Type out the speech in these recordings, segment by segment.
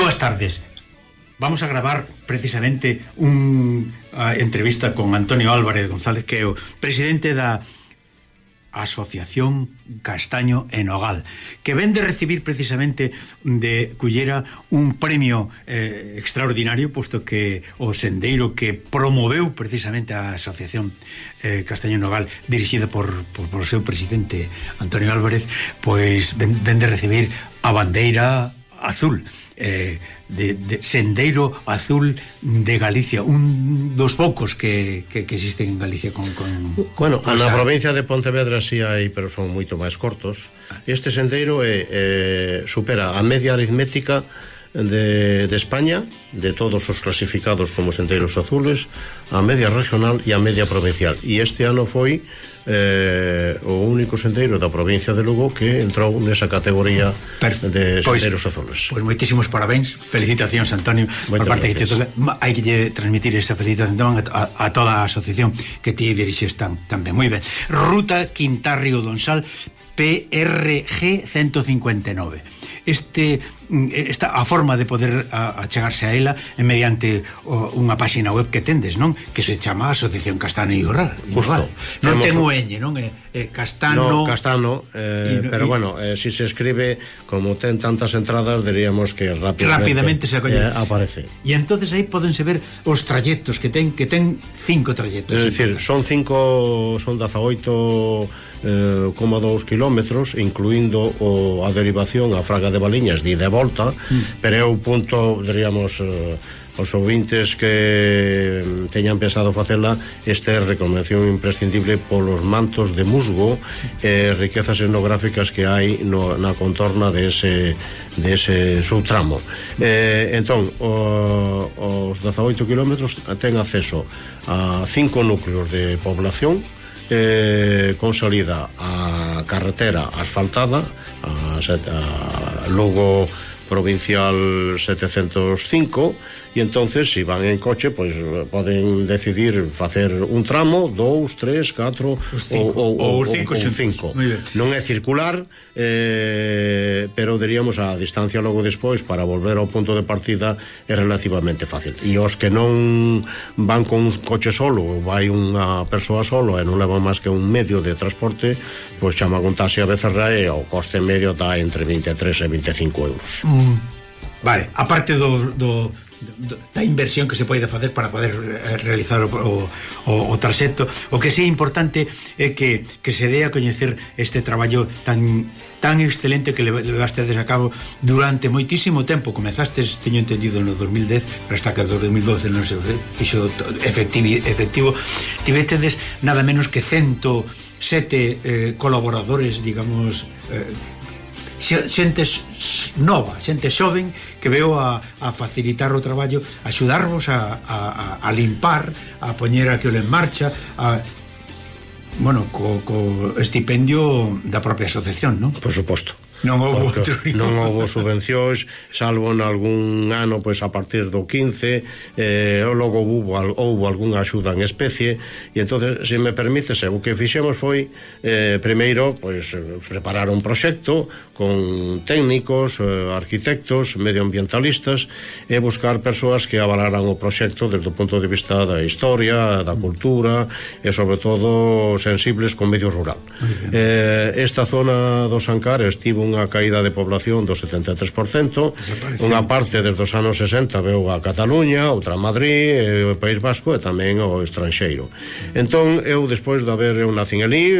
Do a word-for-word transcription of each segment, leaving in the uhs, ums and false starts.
boas tardes. Vamos a gravar precisamente unha entrevista con Antonio Álvarez González, que é o presidente da Asociación Castaño e Nogal, que ven de recibir precisamente de Cullera un premio eh, extraordinario, posto que o sendeiro que promoveu precisamente a Asociación eh, Castaño e Nogal, dirixida por, por, por o seu presidente Antonio Álvarez, pois ven, ven de recibir a bandeira azul, eh, de, de Sendeiro Azul de Galicia, un dos poucos que, que, que existen en Galicia con, con bueno, con na esa... provincia de Pontevedra si hai, pero son moito máis cortos. Este sendeiro é, é, supera a media aritmética de, de España, de todos os clasificados como sendeiros azules, a media regional e a media provincial, e este ano foi eh, o único sendeiro da provincia de Lugo que entrou nesa categoría Perfecto. de sendeiros pues, azules. Pois pues moitísimos parabéns, felicitacións, Antonio. Por parte que te toca, hai que transmitir esa felicitación a, a, a toda a asociación que ti dirixes tan, tan ben. Moi ben. Ruta Quintarrio Donsal P R G ciento cincuenta e nove. Este, esta, a forma de poder achegarse a ela é mediante o, unha páxina web que tendes, non? Que se chama Asociación Castano e Rural. Justo. Non ten o ñ, non? É, é Castano... No, Castano, eh, y, pero y, bueno, eh, si se escribe, como ten tantas entradas, diríamos que rápidamente, rápidamente se eh, aparece. E entonces aí podense ver os trayectos que ten, que ten cinco trayectos. É dicir, son cinco, son dezaoito coma dous kilómetros, incluindo o, a derivación a Fraga de Baliñas de ida e volta, mm. pero é o punto, diríamos, eh, os ouvintes que teñan pensado facela, este é recomendación imprescindible polos mantos de musgo e eh, riquezas etnográficas que hai no, na contorna de ese, de ese subtramo. Eh, entón, o, os dezaoito kilómetros ten acceso a cinco núcleos de población, Eh, consolida a carretera asfaltada, a, a Lugo Provincial setecientos cinco, e entonces se si van en coche, pois pues, poden decidir facer un tramo, dous, tres, catro ou os cinco, cinco. Non é circular, eh, pero diríamos a distancia logo despois para volver ao punto de partida é relativamente fácil. E os que non van con un coche solo, vai unha persoa solo e non levan máis que un medio de transporte, pois chama un taxi a Becerra e o coste medio está entre vinte e tres e vinte e cinco euros. Mm, vale, aparte do, do da inversión que se pode facer para poder realizar o, o, o traxecto, o que sí é importante é que, que se dé a coñecer este traballo tan tan excelente que levastedes a cabo durante moitísimo tempo. Comezastes, teño entendido, no dos mil dez, pero hasta que no dos mil doce non se fixo efectivo, efectivo. Tivetedes nada menos que cento sete eh, colaboradores, digamos, eh, xente nova, xente xoven que veo a, a facilitar o traballo, a axudarvos a, a, a limpar, a poñer aquilo en marcha, a, bueno, co, co estipendio da propia asociación, non? Por suposto. Non houve outro, non houve subvencións, salvo en algún ano, pois a partir do quince, eh, logo houve, houve algunha axuda en especie, e entonces, se me permites, o que fixemos foi eh, primeiro, pois preparar un proxecto con técnicos, eh, arquitectos, medioambientalistas, e buscar persoas que avalaran o proxecto desde o punto de vista da historia, da cultura e sobre todo sensibles con medio rural. Eh, esta zona dos Ancares tivo un unha caída de población do setenta e tres por cento, unha parte desde os anos sesenta veu a Cataluña, outra a Madrid, o País Vasco e tamén o estranxeiro. Entón, eu despois de haber, eu nacín ali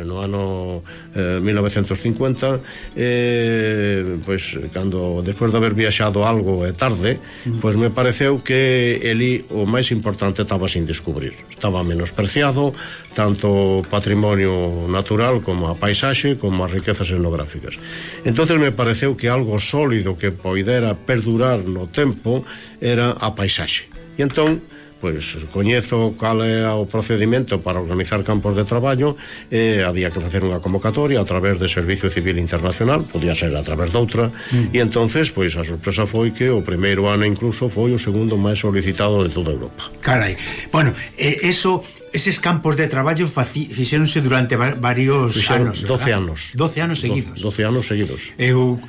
no ano eh, mil novecentos cincuenta, eh, pois, cando, despois de haber viaxado algo e tarde, pois me pareceu que ali o máis importante estaba sin descubrir, estaba menospreciado, tanto o patrimonio natural como a paisaxe, como as riquezas etnográficas. Entonces me pareceu que algo sólido que poidera perdurar no tempo era a paisaxe. E entón, pois, coñezo cal é o procedimento para organizar campos de traballo, e había que facer unha convocatoria a través de Servicio Civil Internacional, podía ser a través doutra, mm. e entonces, pois, a sorpresa foi que o primeiro ano incluso foi o segundo máis solicitado de toda Europa. Carai, bueno, eh, eso eses campos de traballo fixéronse durante varios Fixeron anos, doce anos. doce anos seguidos. doce anos seguidos. Eu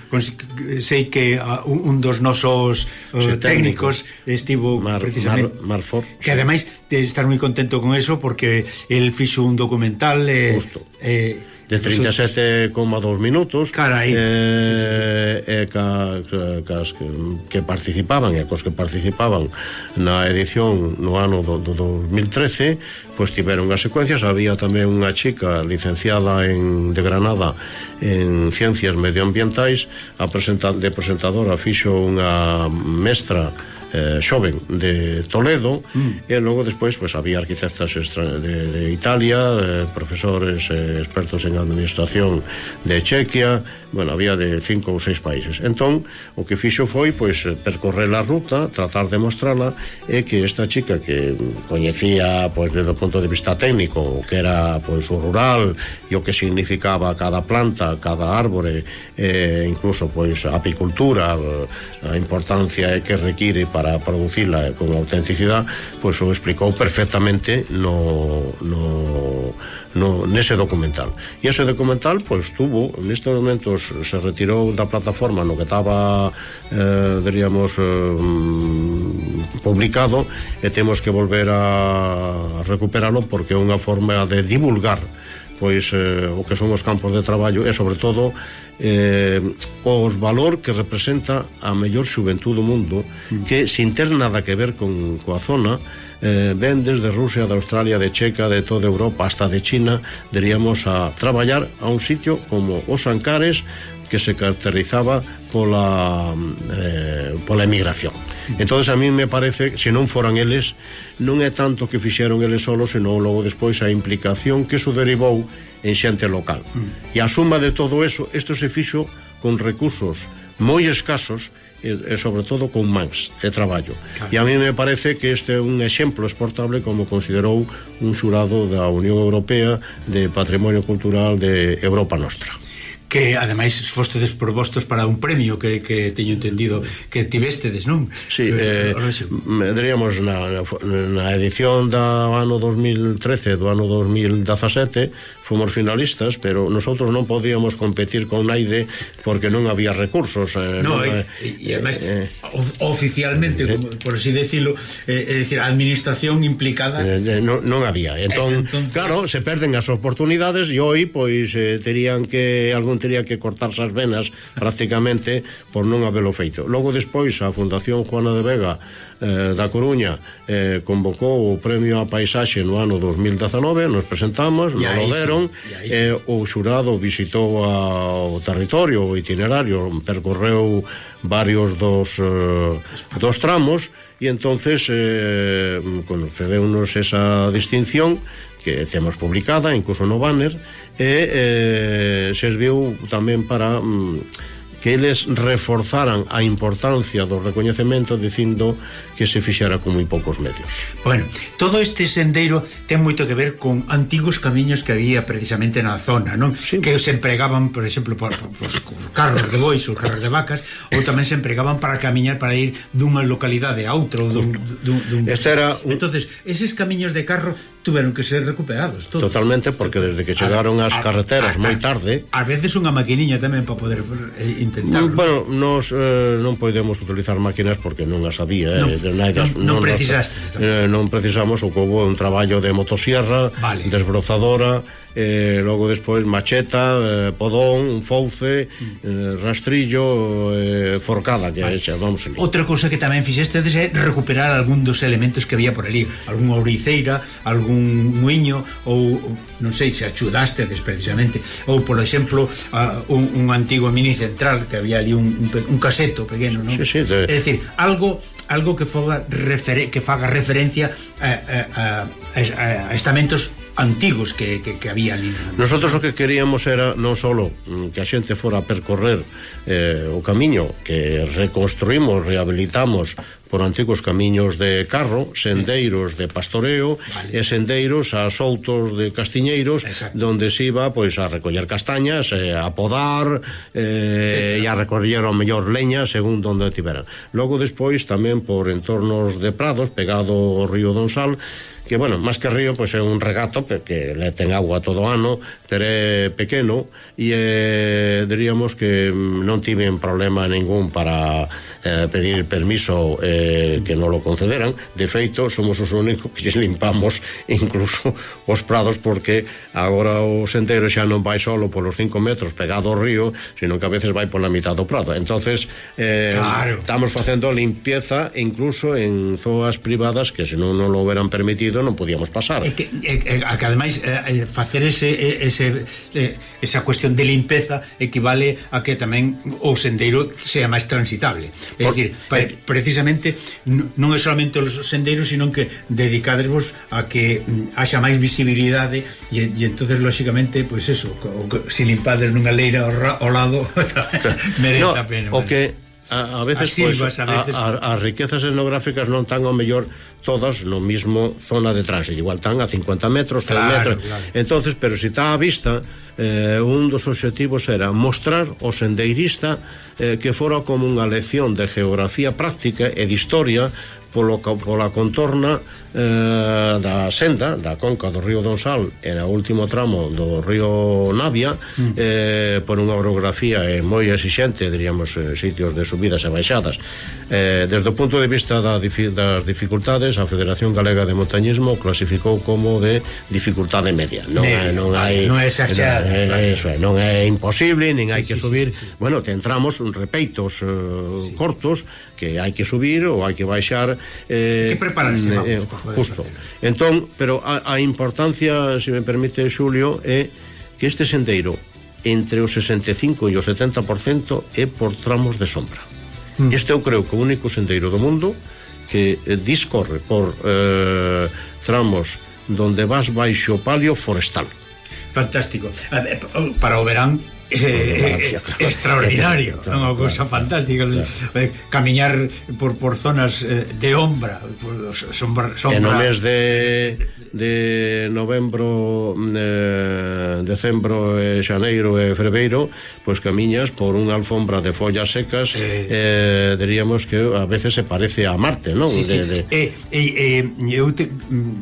sei que un dos nosos sí, técnicos estivo Mar, precisamente Mar, Marfor, que ademais de estar moi contento con eso porque el fixo un documental eh, eh, de trinta e sete coma dos minutos, carai, eh, sí, sí, sí. E ca, ca, cas que, que participaban e cos que participaban na edición no ano do, do dos mil trece, pois tiveron as secuencias. Había tamén unha chica licenciada en, de Granada en Ciencias Medioambientais, a presenta, de presentadora fixo unha mestra Eh, xoven de Toledo, mm. e logo despois pues, había arquitectas extra de, de Italia, eh, profesores eh, expertos en administración de Chequia, bueno, había de cinco ou seis países. Entón, o que fixo foi pois percorrer a ruta, tratar de mostrala, e que esta chica que coñecía pois desde o punto de vista técnico o que era pois o rural e o que significaba cada planta, cada árbore, e incluso pois a apicultura, a importancia que require para producirla con autenticidade, pois o explicou perfectamente no, no, no nese documental. E ese documental pois tuvo, nestes momentos se retirou da plataforma no que estaba eh, diríamos eh, publicado, e temos que volver a recuperalo porque é unha forma de divulgar pois eh, o que son os campos de traballo e sobre todo eh, os valor que representa a mellor xuventude do mundo, que sin ter nada que ver con coa zona, eh, ven desde Rusia, de Australia, de Checa, de toda Europa hasta de China, diríamos, a traballar a un sitio como os Ancares, que se caracterizaba pola eh, pola emigración. Entonces a mí me parece, se non foran eles, non é tanto que fixeron eles solos, senón logo despois a implicación que iso derivou en xente local. Mm. E a suma de todo eso, isto se fixo con recursos moi escasos e, e sobre todo con mans de traballo. Claro. E a mí me parece que este é un exemplo exportable, como considerou un xurado da Unión Europea de Patrimonio Cultural de Europa Nostra, que ademais fostedes probostos para un premio que, que teño entendido que tivestedes, non? Sí, eh, diríamos na, na edición do ano dos mil trece, do ano dos mil dezasete fomos finalistas, pero nosotros non podíamos competir con naide porque non había recursos. Eh, no, non, e, e ademais eh, oficialmente, eh, como, por así decirlo, eh, é dicir, a administración implicada eh, non, non había. Entón, entonces... claro, se perden as oportunidades e hoy, pois, eh, terían que algún tería que cortarse as venas prácticamente por non habelo feito. Logo despois a Fundación Juana de Vega eh, da Coruña eh, convocou o premio a paisaxe no ano dos mil dezanove, nos presentamos, nos lo deron, e eh, o xurado visitou a, o territorio, o itinerario, percorreu varios dos, eh, dos tramos, e entonces eh, concedeunos esa distinción que temos publicada, incluso no banner, e eh, serviu tamén para mm, que eles reforzaran a importancia do recoñecemento, dicindo que se fixera con moi poucos medios. Bueno, todo este sendeiro ten moito que ver con antigos camiños que había precisamente na zona, non? Sí. Que se empregaban, por exemplo, por, por, por carros de bois ou carros de vacas, ou tamén se empregaban para camiñar, para ir dunha localidade a outra ou dun, dun, dun... Este era un... Entonces, eses camiños de carro tuveron que ser recuperados todos. Totalmente, porque desde que chegaron as carreteras moi tarde, a veces unha maquiniña tamén para poder eh, intentarlo. Bueno, nos eh, non podemos utilizar máquinas porque non as había, eh, non, non, non precisaste, eh, non precisamos. O que houve un traballo de motosierra, vale, desbrozadora, eh, logo despois macheta, eh, podón, un fouce, eh, rastrillo, eh, forcada, que vale, chamamos ali. Outra cousa que tamén fixestedes é recuperar algún dos elementos que había por ali, algún ouriceira, algún muiño, ou non sei se axudastedes precisamente, ou por exemplo uh, un, un antigo mini central que había ali un, un, un caseto pequeno, non? Sí, sí, de... É dicir, algo algo que faga referen que faga referencia a, a, a, a estamentos antigos que, que, que había ali. Nosotros o que queríamos era non só que a xente fora a percorrer eh, o camiño que reconstruímos, rehabilitamos por antigos camiños de carro, sendeiros de pastoreo, vale, e sendeiros a soutos de castiñeiros, exacto, donde se iba pois a recoller castañas, eh, a podar, eh, e a recoller ao mellor leña según donde tiveran. Logo despois tamén por entornos de prados pegado ao río Donsal, que, bueno, máis que río, pois é un regato que le ten agua todo ano, pero é pequeno e eh, diríamos que non tiven problema ningún para eh, pedir permiso eh, que non lo concederan. De feito, somos os únicos que limpamos incluso os prados, porque agora o sendero xa non vai solo polos cinco metros pegado ao río, sino que a veces vai pola mitad do prado. Entonces eh, claro, estamos facendo limpieza incluso en zonas privadas que se non non lo hubieran permitido non podíamos pasar. É que, é, é, que ademais é, facer ese, ese, esa cuestión de limpeza equivale a que tamén o sendeiro sea máis transitable. É Por, dicir, eh, precisamente non é solamente os sendeiros, sino que dedicadesvos a que haxa máis visibilidade e, e entonces lógicamente, pois pues eso, se limpades nunha leira ao, ao lado merece no, a pena. O que a, a veces, pues, a, veces... A, a, as riquezas etnográficas non tan ao mellor todas no mismo zona de tránsito, igual están a cincuenta metros, cen claro, metros, claro. Entonces, pero si está a vista, eh, un dos obxectivos era mostrar ao sendeirista eh, que fora como unha lección de geografía práctica e de historia polo, pola contorna eh, da senda, da conca do río Donsal e no último tramo do río Navia, mm. eh, por unha orografía eh, moi exixente, diríamos, eh, sitios de subidas e baixadas. Eh, desde o punto de vista da, das dificultades, a Federación Galega de Montañismo clasificou como de dificultade media. Non é, non hai, non é exagerada, non é, claro, non é imposible, nin sí, hai que sí, subir. Sí, sí, sí. Bueno, que entramos un repeitos eh, sí. cortos que hai que subir ou hai que baixar, eh, que prepararse, vamos, eh, justo. Entón, pero a, a importancia, se me permite, Xulio, é que este sendeiro entre o sesenta e cinco e o setenta por cento é por tramos de sombra. Mm. Este eu creo que o único sendeiro do mundo que eh, discorre por eh, tramos donde vas baixo o palio forestal. Fantástico. Para o verán Eh, eh, extraordinario, é unha cousa fantástica, claro. eh, camiñar por, por zonas eh, de ombra, por sombra, sombra. En o mes de de novembro, eh, decembro, e xaneiro e febreiro, pois camiñas por unha alfombra de follas secas, eh, eh, diríamos que a veces se parece a Marte, non? Sí, sí. De, de... Eh, eh, eh, eu te,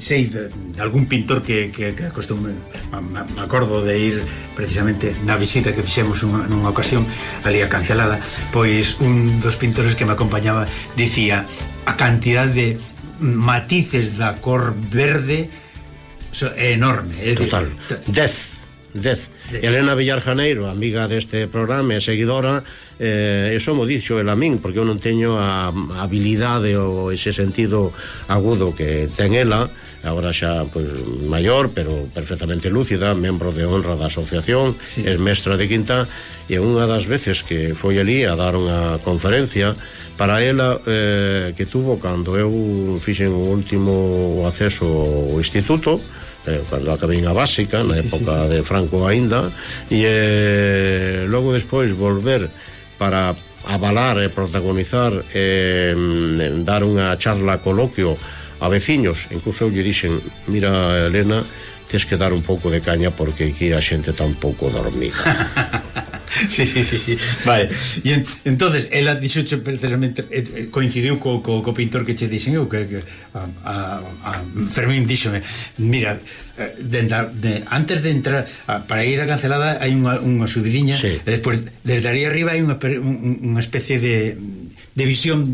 sei de, de algún pintor que, que, que acostume, me acordo de ir precisamente na visita que fixemos unha, nunha ocasión ali a Cancelada, pois un dos pintores que me acompañaba dicía a cantidad de matices da cor verde é enorme, é total, dez, dez. Elena Villar Janeiro, amiga deste programa e seguidora, eh, eso mo dixo el a min, porque eu non teño a, a habilidade ou ese sentido agudo que ten ela, agora xa pois, maior, pero perfectamente lúcida, membro de honra da asociación, sí. Es mestra de quinta, e unha das veces que foi ali a dar unha conferencia para ela, eh, que tuvo cando eu fixen o último acceso ao instituto, eh, cando acabei a básica, sí, na época sí, sí. de Franco aínda, e eh, logo despois volver para avalar e protagonizar e eh, dar unha charla coloquio a veciños. Incluso eu lle dixen, mira, Elena, tes que dar un pouco de caña porque aquí a xente está un pouco dormida. Sí, sí, sí, sí. Vale. E en, entonces ela dixoche precisamente eh, coincidiu co, co, co pintor que che dixen eu que, que a, a, a Fermín díxome, mira, de, de, antes de entrar a, para ir a Cancelada hai unha, unha subidiña, sí. E despois desde aí arriba hai unha, unha especie de de visión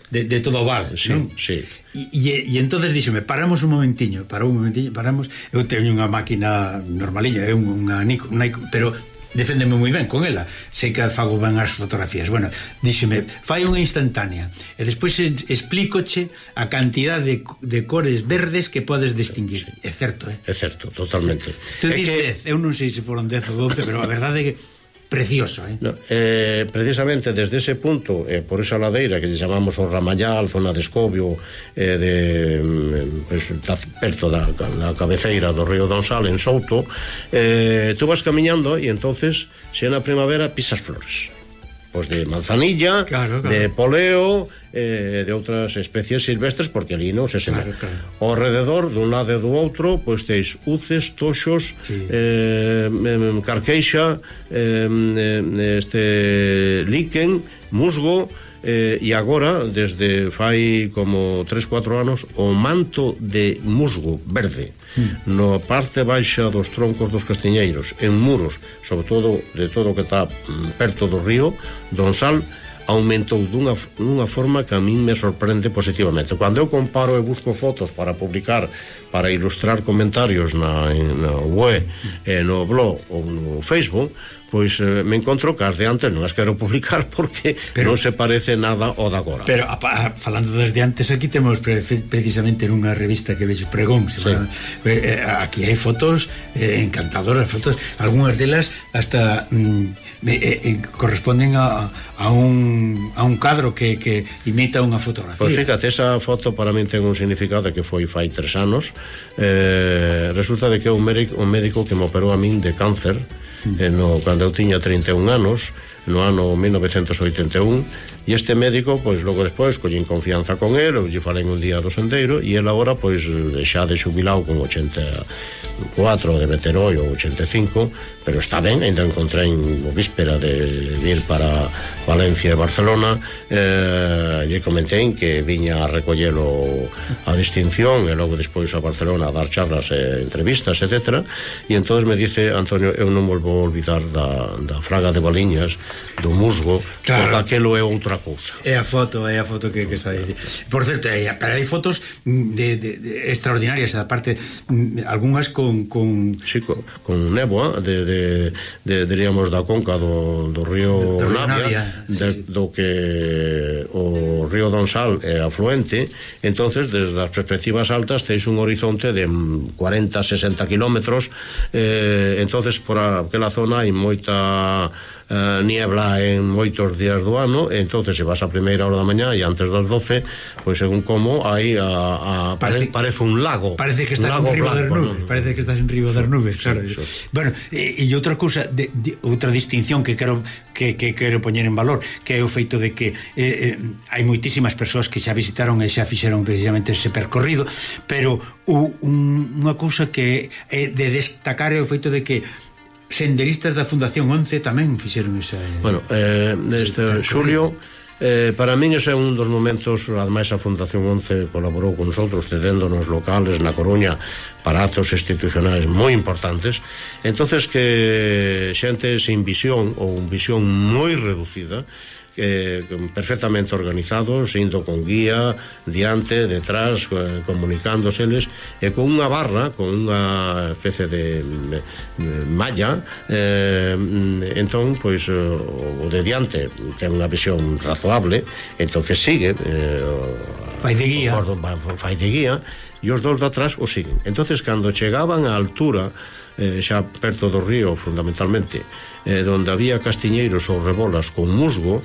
de, de todo o val, sí, non? Sí. E, e entonces díxome, paramos un momentiño, parou un momentiño, paramos, eu teño unha máquina normalilla, é unha Nikon, pero deféndeme moi ben con ela, sei que fago ben as fotografías. Bueno, díxeme, fai unha instantánea e despois explícoche a cantidad de, de cores verdes que podes distinguir. É certo, eh? É certo, totalmente. Tú dices que... dez, eu non sei se foron dez ou doce, pero a verdade é que precioso, eh? No, eh, precisamente desde ese punto, eh, por esa ladeira que chamamos o Ramallal, zona de Escobio, eh, de pues, perto da, da cabeceira do río Donsal en Souto, eh, tú vas camiñando e entonces se na primavera pisas flores. pois de manzanilla, claro, claro. de poleo, eh, de outras especies silvestres, porque ali non se semella. Claro, claro. Ao rededor, dun lado e do outro, pois teis uces, toxos, sí. eh, carqueixa, eh, este líquen, musgo, eh, e agora, desde fai como tres, cuatro anos, o manto de musgo verde mm. no parte baixa dos troncos dos castiñeiros, en muros, sobre todo de todo o que está perto do río Donsal, aumentou dunha, dunha forma que a min me sorprende positivamente. Cando eu comparo e busco fotos para publicar, para ilustrar comentarios na, na web, eh, no blog ou no Facebook, pois eh, me encontro que as de antes non as quero publicar porque pero, non se parece nada ao de agora. Pero a, a, falando desde antes, aquí temos pre, precisamente nunha revista que vexes Pregón, sí. para, eh, aquí hai fotos eh, encantadoras, fotos, algunhas delas hasta mm, eh, eh, corresponden a, a un a un cadro que, que imita unha fotografía. Pois fíjate, esa foto para min ten un significado que foi fai tres anos. Eh, resulta de que é un médico, un médico que me operou a min de cáncer mm. eh, no, cando eu tiña trinta e un anos, no ano mil novecentos oitenta e un, e este médico, pois logo despois collín confianza con él, eu lle falei un día do sendeiro, e el agora pois xa de xubilado con ochenta e catro, debe ter hoy, ou ochenta e cinco, pero está ben, ainda encontrei en víspera de ir para Valencia e Barcelona, eh, lle comentei que viña a recollelo a distinción e logo despois a Barcelona a dar charlas e entrevistas, etcétera, e entonces me dice, Antonio, eu non volvo a olvidar da, da fraga de Baliñas, do musgo, claro, porque aquelo é outra cousa. É a foto, é a foto que, que está aí. Por certo, hai, pero hai fotos de, de, de extraordinarias, aparte, algunhas con... con... Sí, con, con néboa, de, de, de, diríamos, da conca do, do río Navia, de, sí, sí. do que o río Donsal é afluente, entonces, desde as perspectivas altas, teis un horizonte de cuarenta, sesenta kilómetros, eh, entonces, por aquela zona hai moita... Uh, niebla en moitos días do ano, e entonces se vas a primeira hora da mañá e antes das doce, pois según como hai a, a parece, parece un lago, parece que estás en riba das nubes, ¿no? Parece que estás en riba das nubes, claro. Sí, sí. Bueno, e, e outra cousa, de, de, outra distinción que quero que, que quero poñer en valor, que é o feito de que eh, eh, hai moitísimas persoas que xa visitaron e xa fixeron precisamente ese percorrido, pero un, unha cousa que é de destacar é o feito de que senderistas da Fundación once tamén fixeron esa... Bueno, eh, este Xulio, eh, para min ese é un dos momentos, ademais a Fundación once colaborou con nosotros, cedéndonos locales na Coruña para actos institucionais moi importantes, entonces que xente sin visión ou visión moi reducida, Eh, perfectamente organizados, indo con guía diante, detrás, eh, comunicándoseles, e con unha barra, con unha especie de, de, de malla, eh, entón, pois o de diante ten unha visión razoable, entonces sigue, eh, fai de guía, o, fai de guía, e os dos de atrás o siguen. Entonces, cando chegaban á altura, eh, xa perto do río, fundamentalmente, eh, donde había castiñeiros ou rebolas con musgo,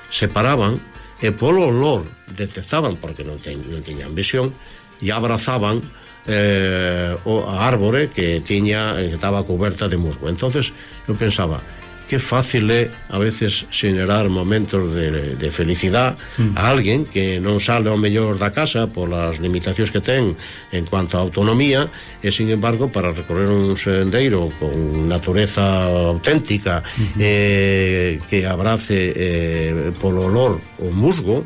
se paraban e polo olor detectaban, porque non, ten, non tiñan visión, e abrazaban eh, o, a árbore que tiña, que estaba coberta de musgo. Entonces eu pensaba, que fácil é a veces xenerar momentos de, de felicidade mm. a alguén que non sale ao mellor da casa polas limitacións que ten en cuanto a autonomía, e sin embargo para recorrer un sendeiro con natureza auténtica, mm-hmm. eh, que abrace eh, polo olor o musgo,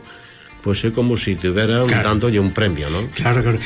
pois é como se si tiveran claro. dándolle un premio, non? Claro, claro.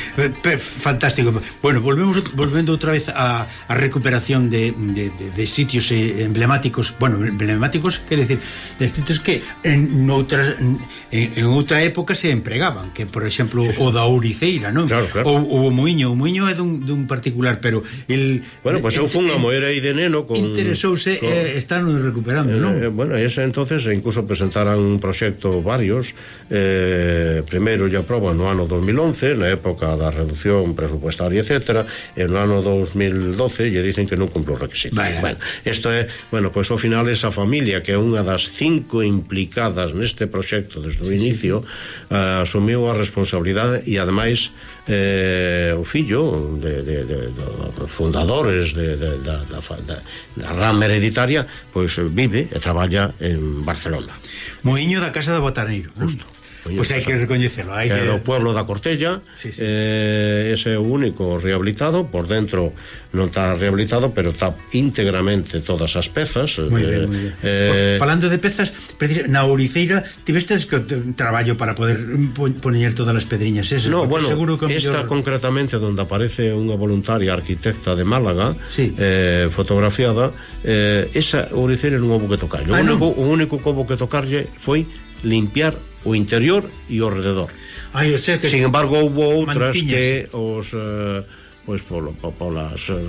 Fantástico. Bueno, volvemos volvendo outra vez a, a recuperación de, de, de, de sitios emblemáticos, bueno, emblemáticos, quer decir, de sitios que en outra, en, en outra época se empregaban, que por exemplo sí, sí. o da Ouriceira, non? Claro, claro. O, o Muiño, o Muiño é dun, dun particular, pero el... Bueno, pois pues eu fun a moer aí de neno con... Interesouse con, eh, están recuperando, eh, non? Eh, bueno, ese entonces incluso presentaran un proxecto varios, eh, eh, primeiro lle aproban no ano dos mil once, na época da reducción presupuestaria, etcétera, e no ano dos mil doce lle dicen que non cumpre os requisitos. Vaya. Bueno, isto é, bueno, pois ao final esa familia, que é unha das cinco implicadas neste proxecto desde o inicio, sí, sí. Uh, asumiu a responsabilidade e ademais eh, o fillo de, de, de, de, de fundadores de, de, de, de, de, da rama hereditaria, pois vive e traballa en Barcelona. Moiño da Casa de Botaneiro. Justo. Pois hai que recoñecelo, hai que... que é do pueblo da Cortella, sí, sí. Eh, ese é o único rehabilitado, por dentro non está rehabilitado, pero está íntegramente todas as pezas. Moi ben, moi ben. Eh, Falando de pezas, na Ouriceira tivestes que un traballo para poder poñer todas as pedriñas esas? No, bueno, seguro que esta mellor... concretamente onde aparece unha voluntaria arquitecta de Málaga, sí, eh, fotografiada, eh, esa Ouriceira non houve que tocarlle. Ah, o, único, o único que houve que tocarlle foi limpiar o interior e o alrededor. Ai, eu sei que sin embargo, houve outras que os eh, pois polo, polas eh,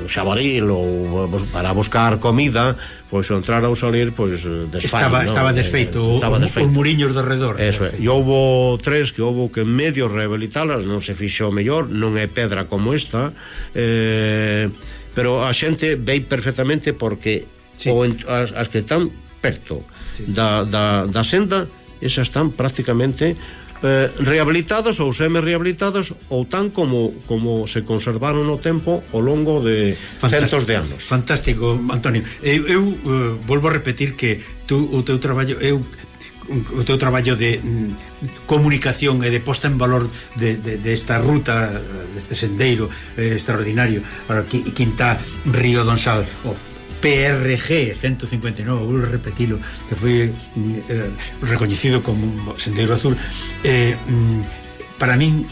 xabaril ou para buscar comida, pois entrar ou salir, pois desfai, estaba, ¿no? estaba desfeito, estaba desfeito. Os muriños de redor. Eso é. E houve tres que houve que medio rehabilitalas, non se fixo mellor, non é pedra como esta, eh, pero a xente vei perfectamente porque sí, o, as, as que están perto, sí, da, da, da senda, esas están prácticamente eh, rehabilitadas ou semi-rehabilitadas ou tan como, como se conservaron no tempo ao longo de fantástico, centos de anos. Fantástico, Antonio. Eu, eu uh, volvo a repetir que tú, o teu traballo eu o teu traballo de mm, comunicación e de posta en valor de, de, de esta ruta, deste sendeiro eh, extraordinario para Quintá Río Donsal, o P R G ciento cincuenta e nove, vou repetilo, que foi eh, recoñecido como Sendeiro Azul, eh, para min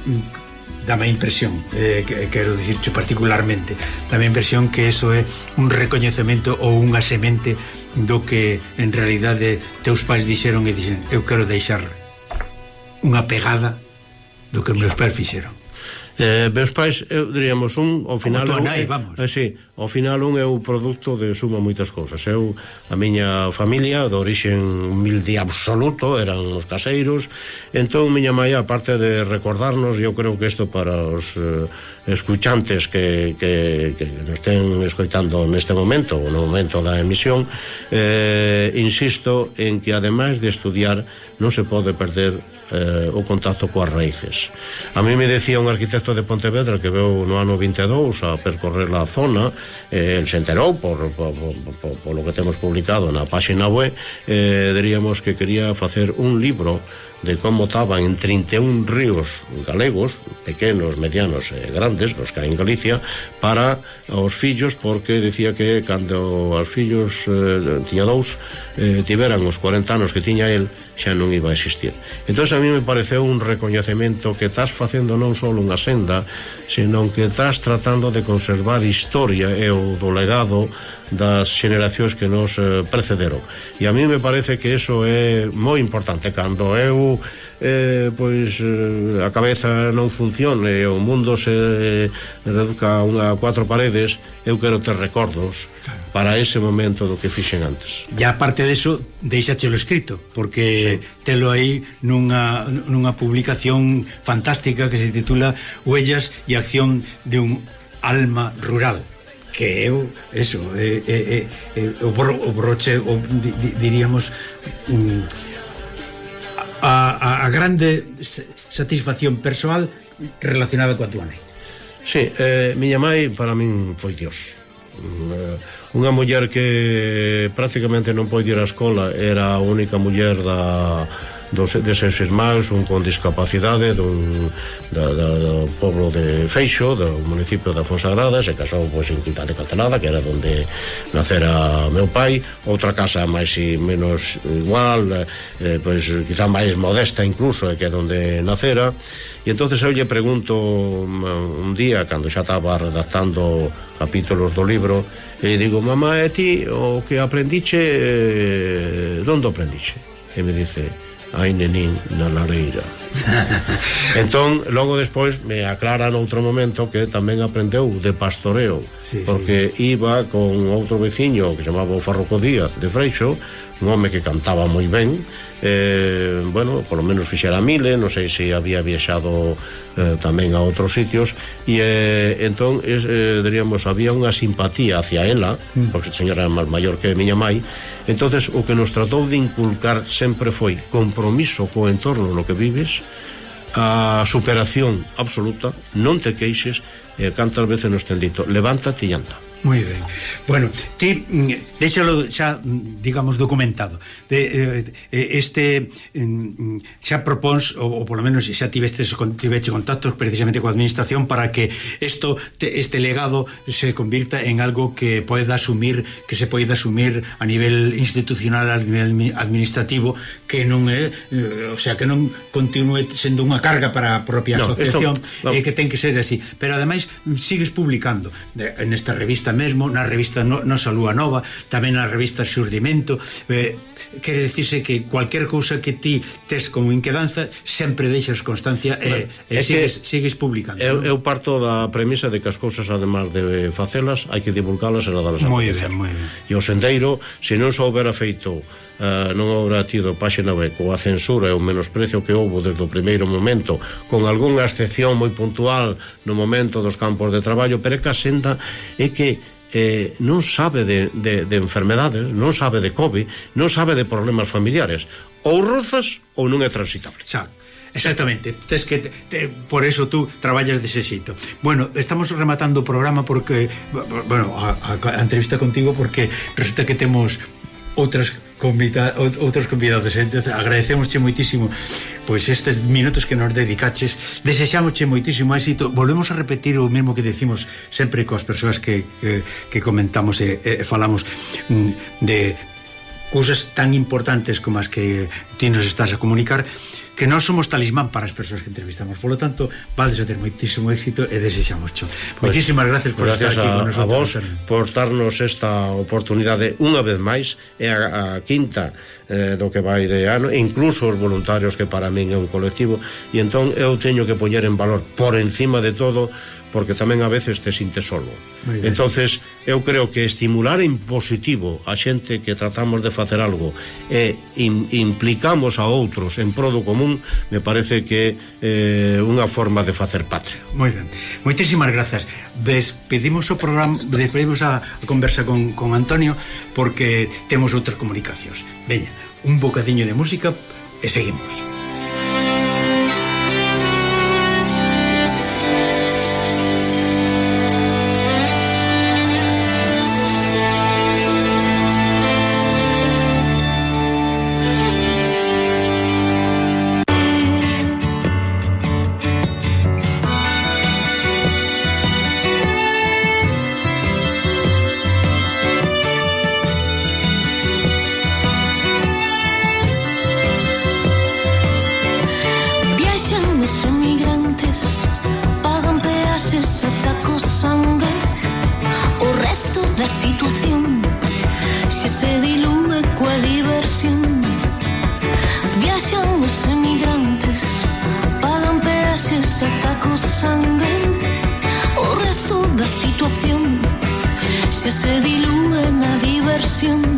dame a impresión, eh, que, quero dicircho particularmente, dame a impresión que eso é un recoñecemento ou unha semente do que en realidade teus pais dixeron e dixen, eu quero deixar unha pegada do que os meus pais fixeron. Eh, meus pais, eu diríamos un ao final como nai, vamos. Eh, sí, ao final un é o produto de suma moitas cousas. Eu, a miña familia de orixen humilde absoluto, eran os caseiros, entón miña mãe, aparte de recordarnos, eu creo que isto para os eh, escuchantes que, que, que nos estén escoitando neste momento ou no momento da emisión, eh, insisto en que ademais de estudiar non se pode perder Eh, o contacto coas raíces. A mí me decía un arquitecto de Pontevedra que veu no ano vinte e dous a percorrer a zona, eh, el se enterou por, por, por, por, por lo que temos publicado na página web, eh, diríamos que quería facer un libro de como estaban en trinta e un ríos galegos, pequenos, medianos e grandes, os que hai en Galicia, para os fillos, porque decía que cando os fillos eh, tiña dous, eh, tiveran os cuarenta anos que tiña el, xa non iba a existir. Entón a mí me pareceu un recoñecemento que estás facendo non só unha senda, senón que estás tratando de conservar historia e o do legado das xeneracións que nos eh, precederon. E a mí me parece que eso é moi importante. Cando eu eh, pois eh, a cabeza non funcione e o mundo se eh, reduzca a unha cuatro paredes, eu quero ter recordos para ese momento do que fixen antes. E aparte deso, deixáchelo escrito, porque sí, telo aí nunha, nunha publicación fantástica que se titula Huellas e acción de un alma rural, que eu, eso, é, é, é, é, o, bro, o broche, o, di, diríamos, um, a, a, a grande satisfacción persoal relacionada coa tua nai. Sí, eh, miña mãe para min foi Dios. Uh, unha muller que prácticamente non pode ir á escola, era a única muller da dos, deses irmáns, un con discapacidade dun, da, da, do pobo de Feixo, do municipio da Fonsagrada, se casou pois, en Quintá de Cancelada, que era onde nacera meu pai, outra casa máis e menos igual, eh, pois quizá máis modesta incluso, que é onde nacera. E entonces eu lle pregunto un día, cando xa estaba redactando capítulos do libro, e digo, mamá, e ti o que aprendiche, eh, onde aprendiche? E me dice, ai nenín, na lareira. Entón, logo despois me aclara noutro momento que tamén aprendeu de pastoreo, sí, porque sí, iba con outro veciño que chamaba o Farroco Díaz de Freixo, un home que cantaba moi ben, eh, bueno, por lo menos fixera mile, non sei se había viaxado eh, tamén a outros sitios, e eh, entón eh, diríamos, había unha simpatía hacia ela, porque a señora era máis maior que a miña mai. Entonces o que nos tratou de inculcar sempre foi compromiso co entorno no que vives, a superación absoluta, non te queixes, e cantas veces nos ten dito, levántate e anda. Moi ben. Bueno, ti déxalo xa, digamos, documentado. De, eh, este xa propóns, ou, ou polo menos xa tivestes tiveche contactos precisamente coa administración para que esto, este legado se convirta en algo que poida asumir, que se poida asumir a nivel institucional, a nivel administrativo, que non é, o sea, que non continue sendo unha carga para a propia no, asociación, esto, no. E que ten que ser así. Pero ademais sigues publicando en esta revista mesmo, na revista no, Nosa Lúa Nova, tamén na revista Xurdimento. eh, quere dicirse que cualquier cousa que ti tes como inquedanza sempre deixas constancia e, e sigues, sigues publicando. Eu, eu parto da premisa de que as cousas, además de facelas, hai que divulgalas e nadalas a conocer. E o sendeiro, se non se houbera feito, Uh, non habrá tido páxina web coa censura e o menosprecio que houbo desde o primeiro momento, con algunha excepción moi puntual no momento dos campos de traballo, pero é que a senda é que eh, non sabe de, de, de enfermedades, non sabe de COVID, non sabe de problemas familiares, ou rozas ou non é transitable. Xa, exactamente, tes que te, te, por eso tú traballas dese xeito. Bueno, estamos rematando o programa porque, bueno, a, a, a entrevista contigo, porque resulta que temos outras convida, outros convidados. Entonces, agradecemosche moitísimo pois estes minutos que nos dedicaches, desexámosche moitísimo éxito. Volvemos a repetir o mesmo que decimos sempre coas persoas que, que, que comentamos e, e falamos de cousas tan importantes como as que ti nos estás a comunicar, que non somos talismán para as persoas que entrevistamos. Por lo tanto, vades a ter moitísimo éxito e desexámoscho. Pues, moitísimas gracias por gracias estar aquí a, con nosotros. A vos por darnos esta oportunidade unha vez máis, é a, a quinta eh, do que vai de ano, incluso os voluntarios, que para min é un colectivo, e entón eu teño que poñer en valor por encima de todo, porque tamén a veces te sintes solo. Entonces eu creo que estimular en positivo a xente que tratamos de facer algo e in, implicamos a outros en pro do común, me parece que é eh, unha forma de facer patria. Moi ben, moitísimas grazas. Despedimos o programa, despedimos a, a conversa con, con Antonio, porque temos outras comunicacións. Veña, un bocadiño de música e seguimos. Se dilúe na diversión.